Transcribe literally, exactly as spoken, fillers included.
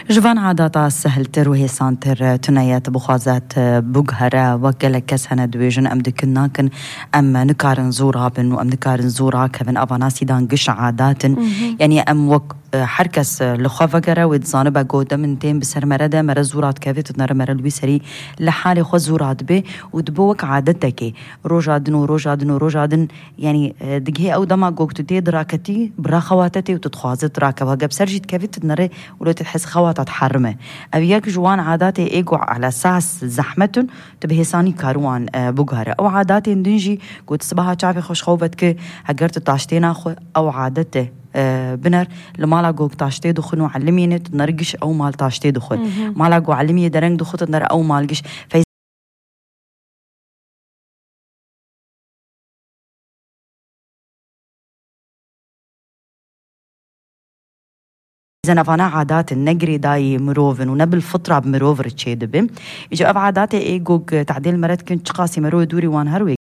Ji van adata sehiltir û hêsantir tune ye, tu bixwaze tu biguhere, wek gelek kes hene dibêjin, em dikin nakin, em nikarin zû rabin û em nikarin zû rakevin. Ava nasîdan giş adat in. Mhm. Yanî em wek, e, her kes, e, li xwe vegere, wê dizanibe ku de min tên bi ser mere de, mere zû radikeve, tu dinere mere li wî serî li halê xwe zû radibe û dibe wek adetekê. Roja din û roja din û roja din Yanî, e, digihê ew dema ku tu tê diraketî, bi raxewate tê û tu dixwaze tu rakeve. Ge bi ser jî dikevî, tu dinere û lê tu dihesî xewata diherime. Ev yek ji wan adatê ê ku ala sas zehmet in, tu bi hêsanî karî wan, e, biguhere. Ew adatên din jî ku tu sibaha çavê xwe ji xew vedikî, heger tu taştê naxwe, ew adete, e, biner. Li mala ku taştê dixwin û elimîne, tu dinere giş ew mal taştê dixwe. Mhm. Mala ku elimiyê dereng dixwe, tu dinere ew mal giş. Zena vana adat in, ne girêdayî mirov in û ne bil fitra bi mirov re çêdibe. Îca ev adatê ê gog tadêl mere dikin, çiqasî merov dûrî wan her wê